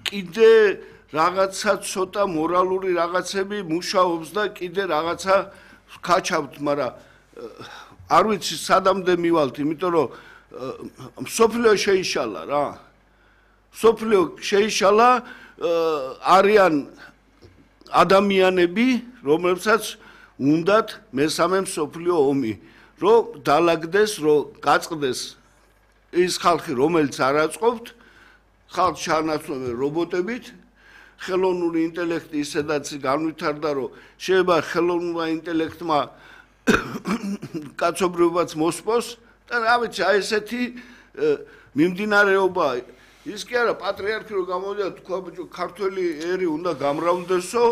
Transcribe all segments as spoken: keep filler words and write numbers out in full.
კიდე რაღაცა ცოტა მორალური რაღაცები მუშაობს და კიდე რაღაცა ვქაჩავთ, მაგრამ არ ვიცი სადამდე მივალთ, იმიტომ რომ მსოფლიო შეიშალა რა. მსოფლიო შეიშალა, არიან ადამიანები, რომლებსაც უნდათ მესამე მსოფლიო ომი, რომ დაალაგდეს, რომ გაწყდეს ის ხალხი, რომელიც არ აწყობთ, ხალხს ჩაანაცვლებენ რობოტებით, ხელოვნური ინტელექტი ისედაც განვითარდა, რომ შეიძლება ხელოვნურმა ინტელექტმა კაცობრიობაც მოსპოს და რა ვიცი, აი ესეთი მიმდინარეობა. ის კი არა, პატრიარქი რო გამოვიდა, თქვა ბიჭო, ქართველი ერი უნდა გამრავლდესო,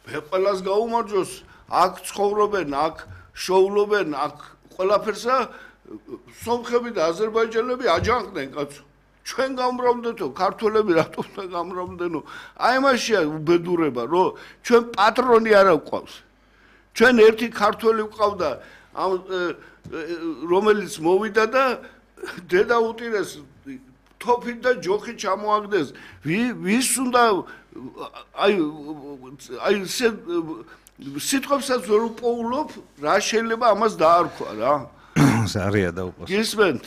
მე ყველას გაუმარჯოს, აქ ცხოვრობენ, აქ შოულობენ, აქ ყველაფერსა სომხები და აზერბაიჯანელები აჯანყდნენ კაცო. ჩვენ გამრავლდეთო, ქართველები რატომ უნდა გამრავლდენო? აი მაშია უბედურება, რომ ჩვენ პატრონი არ გვყავს. ჩვენ ერთი ქართველი გვყავდა, რომელიც მოვიდა და დედა უტირეს თოფით და ჯოხით ჩამოაგდეს. ვის უნდა აი აი სიტყვებსაც ვერ უპოულობ, რა შეიძლება ამას დაარქვა რა. ზარია დაუპოს. გისმენთ?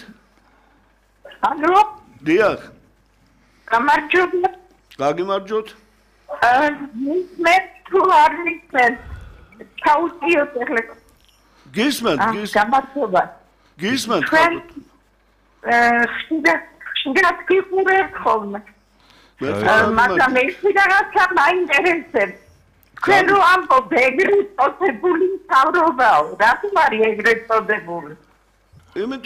ალო? დიახ. გამარჯობა. გაგიმარჯოთ. აა მე თუ არ მისმენთ. ჩაუწიოთ ახლა. გისმენთ, გისმენთ. გამარჯობა. გისმენთ. აა ხიდა ხიდა გიყურებთ ხოლმე. მაგრამ ეს რაღაცა მაინტერესებს. ჩვენ რო ამბობ ეგრეთ წოდებული მთავრობაო, რატომ არის ეგრეთ წოდებული?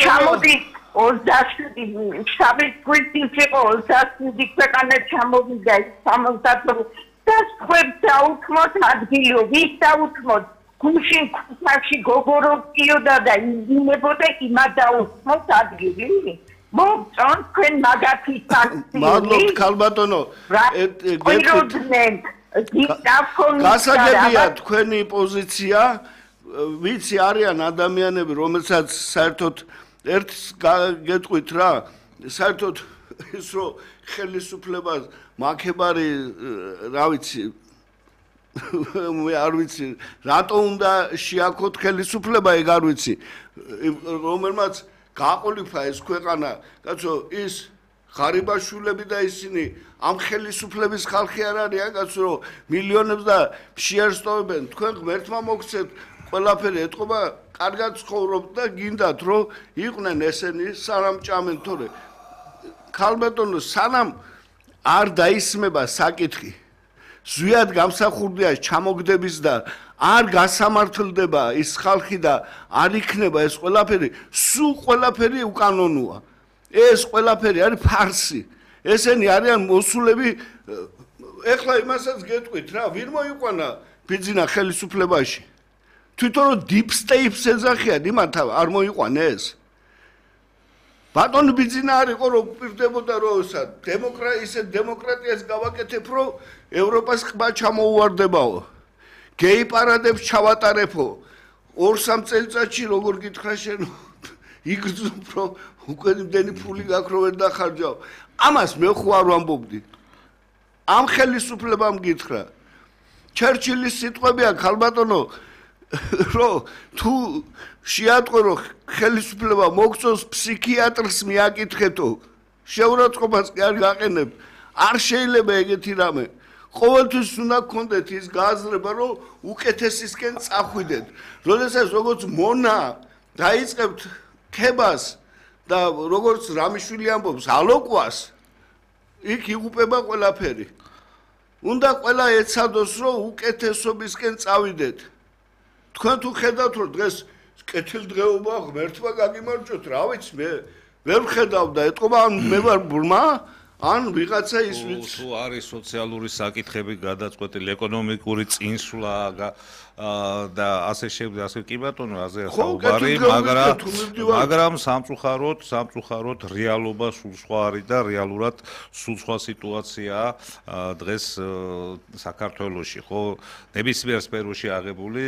ჩამოდი ოცდაშვიდი შაბათ გვერდით იყო ოცდაშვიდი ქვეყანა ჩამოვიდა სამოცდაათი და ხუთ დაუთმოთ ადგილო, ვის დაუთმოთ? გუშინ ქუთაში გოგოროვსკიოდა და იმებოდა იმად დაუთმოთ ადგილი? მოგწონთ თქვენ მაგათი ფაქტი? მადლობთ ქალბატონო. გეტყვით გასაგებია თქვენი პოზიცია, ვიცი არიან ადამიანები, რომელსაც საერთოდ ერთს გეტყვით რა, საერთოდ ის რომ ხელისუფლებას მაქებარი რა ვიცი მე არ ვიცი რატო უნდა შეაქოთ ხელისუფლება, ეგ არ ვიცი, რომელმაც გააყოლიფა ეს ქვეყანა, კაცო, ის ღარიბაშვილები და ისინი ამ ხელისუფლების ხალხი არ არიან, კაცო, რომ მილიონებს და შეერს ტოვებენ. თქვენ ღმერთმა მოგცეთ, ყველაფერი ეთყობა, კარგად ცხოვრობთ და გინდათ, რომ იყვნენ ესენი სანამ ჭამენ, თორე ქალბატონო, სანამ არ დაისმება საკითხი, ზვიად გამსახურდია ჩამოგდების და არ გასამართლდება ის ხალხი და არ იქნება ეს ყველაფერი, სულ ყველაფერი უკანონოა. ეს ყველაფერი არის ფარსი. ესენი არიან მოსულები. ეხლა იმასაც გეტყვით რა, ვინ მოიყვანა ბიძინა ხელისუფლებაში? თვითონ რომ deep state-ს ეძახიან, იმათ არ მოიყვანეს. ბატონი ბიძინა არ იყო რომ პირდებოდა რომ ისე დემოკრატიას გავაკეთებ, რომ ევროპას ყბა ჩამოუვარდებაო. გეი პარადებს ჩავატარებო. ორ სამ წელიწადში როგორ გითხრა შენ იგრძნობ რომ უკვე იმდენი ფული გაქვს რომ ვერ დახარჯავ. ამას მე ხო არ ვამბობდი. ამ ხელისუფლებამ გითხრა. ჩერჩილის სიტყვებია ქალბატონო, რომ თუ შეატყო რომ ხელისუფლება მოგწონს ფსიქიატრს მიაკითხეთო. შეურაცხყოფას კი არ გაყენებ. არ შეიძლება ეგეთი რამე. ყოველთვის უნდა გქონდეთ ის გააზრება, რომ უკეთესისკენ წახვიდეთ. როდესაც როგორც მონა დაიწყებთ ქებას და როგორც რამიშვილი ამბობს, ალოკვას, იქ იღუპება ყველაფერი. უნდა ყველა ეცადოს, რომ უკეთესობისკენ წავიდეთ. თქვენ თუ ხედავთ, რომ დღეს კეთილდღეობა ღმერთმა გაგიმარჯვოთ, რა ვიცი მე, ვერ ვხედავ და ეთყობა ან მე ვარ ბრმა, ან ვიღაცა ის ვიცი. თუ არის სოციალური საკითხები გადაწყვეტილი, ეკონომიკური წინსვლა და ასე შემდეგ, ასე კი ბატონო, ასე საუბარი, მაგრამ მაგრამ სამწუხაროდ, სამწუხაროდ რეალობა სულ სხვა არის და რეალურად სულ სხვა სიტუაციაა დღეს საქართველოში, ხო? ნებისმიერ სფეროში აღებული,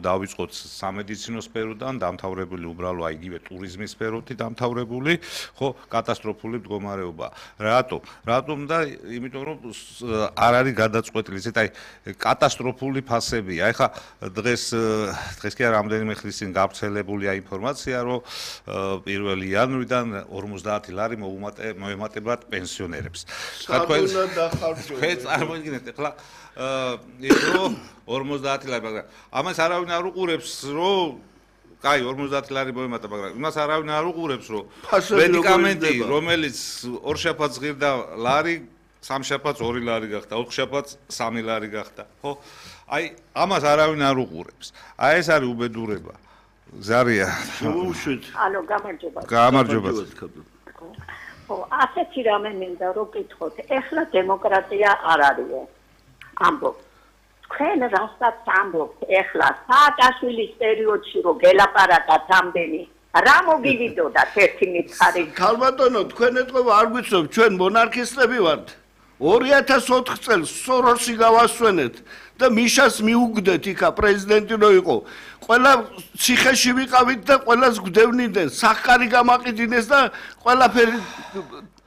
დავიწყოთ სამედიცინო სფეროდან, დამთავრებული უბრალო იგივე ტურიზმის სფეროთი დამთავრებული, ხო, კატასტროფული მდგომარეობა. რატო? რატომ და იმიტომ რომ არ არის გადაწყვეტილი, ესეთ აი კატასტროფული ფასებია. ეხლა დღეს დღეს კი არა რამდენიმე ხნის წინ გავრცელებულია ინფორმაცია, რომ პირველი იანვრიდან ორმოცდაათი ლარი მოემატებათ პენსიონერებს. თქვენ დახარჯოთ. თქვენ წარმოიდგინეთ ეხლა ის რომ ორმოცდაათი ლარი, მაგრამ ამას არავინ არ უყურებს, რომ კაი ორმოცდაათი ლარი მოემატა, მაგრამ იმას არავინ არ უყურებს, რომ მედიკამენტი, რომელიც ორ შაბათს ღირდა ლარი, სამ შაბათს ორი ლარი გახდა, ოთხ შაბათს სამი ლარი გახდა, ხო? აი, ამას არავინ არ უყურებს. აი ეს არის უბედურება. ზარია. შევუშვით. ალო, გამარჯობა. გამარჯობა. ხო, ასეთი რამე მინდა რომ გითხოთ. ეხლა დემოკრატია არ არისო. ამბობ. თქვენ რასაც ამბობთ ეხლა სააკაშვილის პერიოდში რომ გელაპარაკათ ამდენი რა მოგივიდოდათ ერთი მითხარი. ქალბატონო, თქვენ ეთყობა არ გვიცნობთ, ჩვენ მონარქისტები ვართ. ორი ათას ოთხ წელს სოროსი გავასვენეთ და მიშას მიუგდეთ იქა პრეზიდენტი რო იყო. ყველა ციხეში ვიყავით და ყველას გვდევნიდნენ, სახკარი გამაყიდინეს და ყველაფერი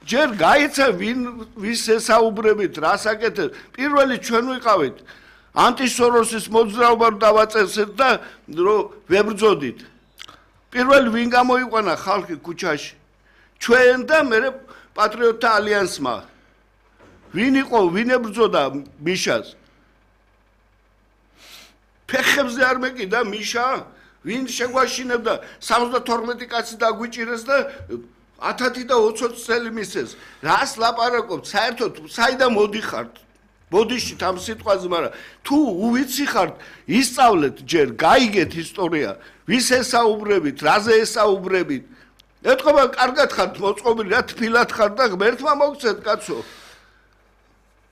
ჯერ გაიცა ვინ ვის ესაუბრებით, რას აკეთებს. პირველი ჩვენ ვიყავით. ანტისოროსის მოძრაობა დავაწესეთ და რომ ვებრძოდით. პირველი ვინ გამოიყვანა ხალხი ქუჩაში? ჩვენ და მე პატრიოტთა ალიანსმა. ვინ იყო, ვინ ებრძოდა მიშას? ფეხებზე არ მეკიდა მიშა? ვინ შეგვაშინებდა სამოცდათორმეტი კაცი დაგვიჭირეს და ათათი და ოცი წელი მისცეს. რას ლაპარაკობთ? საერთოდ საიდან მოდიხართ? ბოდიში ამ სიტყვაზე, მაგრამ თუ უვიცი ხართ, ისწავლეთ ჯერ, გაიგეთ ისტორია, ვის ესაუბრებით, რაზე ესაუბრებით. ეთყობა კარგად ხართ მოწყობილი, რა თბილად ხართ და ღმერთმა მოგცეთ კაცო.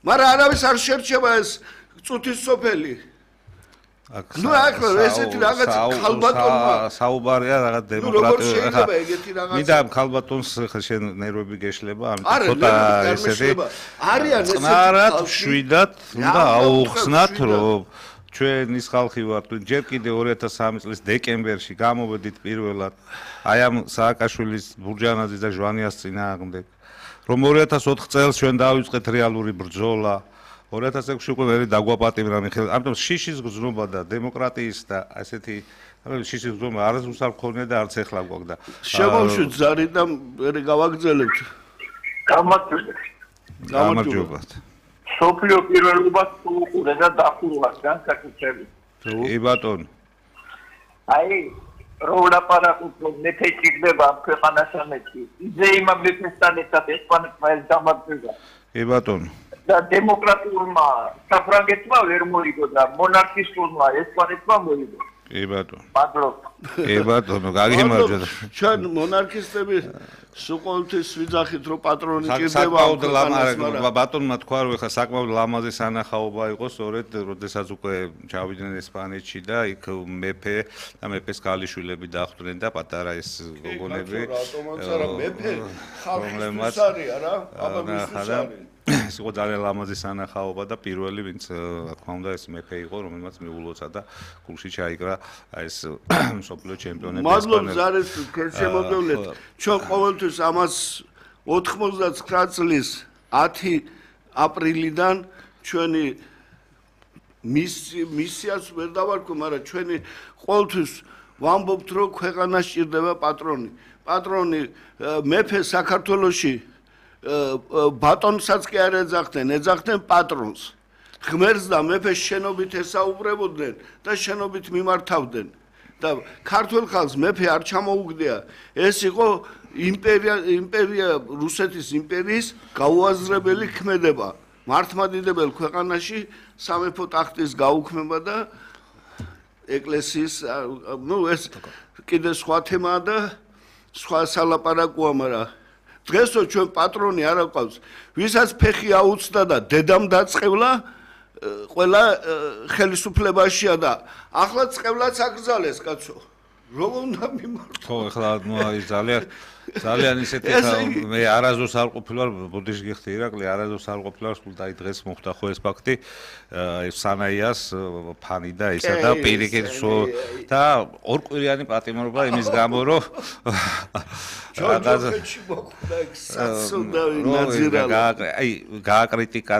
მაგრამ არავის არ შერჩება ეს წუთის სოფელი. ნუ ახლა ესეთი რაღაც ქალბატონმა საუბარია რაღაც დემოკრატია. ახლა ეგეთი რაღაცა. მინდა ქალბატონს ხა შენ ნერვები გეშლება, ამიტომ ცოტა ესეთი არიან ესეთი წნარად შვიდად უნდა აუხსნათ, რომ ჩვენ ის ხალხი ვართ, ჯერ კიდე ორი ათას სამი წლის დეკემბერში გამოვედით პირველად აი ამ სააკაშვილის, ბურჯანაძის და ჟვანიას წინააღმდეგ, რომ ორი ათას ოთხ წელს ჩვენ დავიწყეთ რეალური ბრძოლა. ორი ათას ექვსში უკვე ვერ დაგვაპატიმრა მიხეილ. ამიტომ შიშის გზნობა და დემოკრატიის და ასეთი შიშის გზნობა არასდროს არ მქონია და არც ეხლა გვაქვს და შემოვშვით ზარი და ვერ გავაგრძელებთ. გამარჯობა. სოფლიო პირველობას უყურე და დახურვა განსაკუთრებით. კი ბატონო. აი რო ლაპარაკობ რომ მეფე ჭირდება ქვეყანასამეთი. იძე იმამ მეფესთან ერთად ესპანეთმა ეს დამარცხება. კი ბატონო. და დემოკრატიულმა საფრანგეთმა ვერ მოიგო და მონარქისტულმა ესპანეთმა მოიგო. კი ბატონო. მადლობა. კი ბატონო, გაგიმარჯვეთ. ჩვენ მონარქისტები სულ ვიძახით რომ პატრონი ჭირდება. საკმაოდ ლამაზი ბატონმა თქვა რომ ეხა საკმაოდ ლამაზი სანახაობა იყო, სწორედ როდესაც უკვე ჩავიდნენ ესპანეთში და იქ მეფე და მეფეს ქალიშვილები დახვდნენ და პატარა ეს გოგონები. რატომაც არა მეფე ხალხის არია რა, აბა მისთვის არის. ეს იყო ძალიან ლამაზი სანახაობა და პირველი ვინც რა თქმა უნდა ეს მეფე იყო, რომელმაც მიულოცა და გულში ჩაიკრა ეს მსოფლიო ჩემპიონები ესპანელი. მადლობა ზარეს შემოგევლეთ. ჩვენ ყოველთვის ამას ოთხმოცდათსამი წლის ათი აპრილიდან ჩვენი მისიას ვერ დავარქვი, მაგრამ ჩვენი ყოველთვის ვამბობთ რომ ქვეყანას ჭირდება პატრონი. პატრონი მეფე საქართველოში ბატონსაც კი არ ეძახდნენ, ეძახდნენ პატრონს. ღმერთს და მეფეს შენობით ესაუბრებოდნენ და შენობით მიმართავდნენ. და ქართულ ხალხს მეფე არ ჩამოუგდია. ეს იყო იმპერია, იმპერია რუსეთის იმპერიის გაუაზრებელი ქმედება. მართლმადიდებელ ქვეყანაში სამეფო ტახტის გაუქმება და ეკლესიის, ნუ ეს კიდე სხვა თემაა და სხვა სალაპარაკოა, მაგრამ დღესო ჩვენ პატრონი არ აყავს, ვისაც ფეხი აუწდა და დედამ დაწყევლა, ყველა ხელისუფლებაშია და ახლა წყევლაც აკრძალეს კაცო. რომ უნდა მიმართო. ხო, ეხლა ნუ აი ძალიან ძალიან ისეთი ხა მე არაზოს არ ყოფილვარ ბუდიში გიხდი ირაკლი არაზოს არ ყოფილვარ სულ და აი დღეს მოხდა ხო ეს ფაქტი აი სანაიას ფანი და ისა და პირიქით და ორკვირიანი პატიმრობა იმის გამო რომ ჯოჯოხეთში მოხდა საცოდავი ნაძირალა აი გააკრიტიკა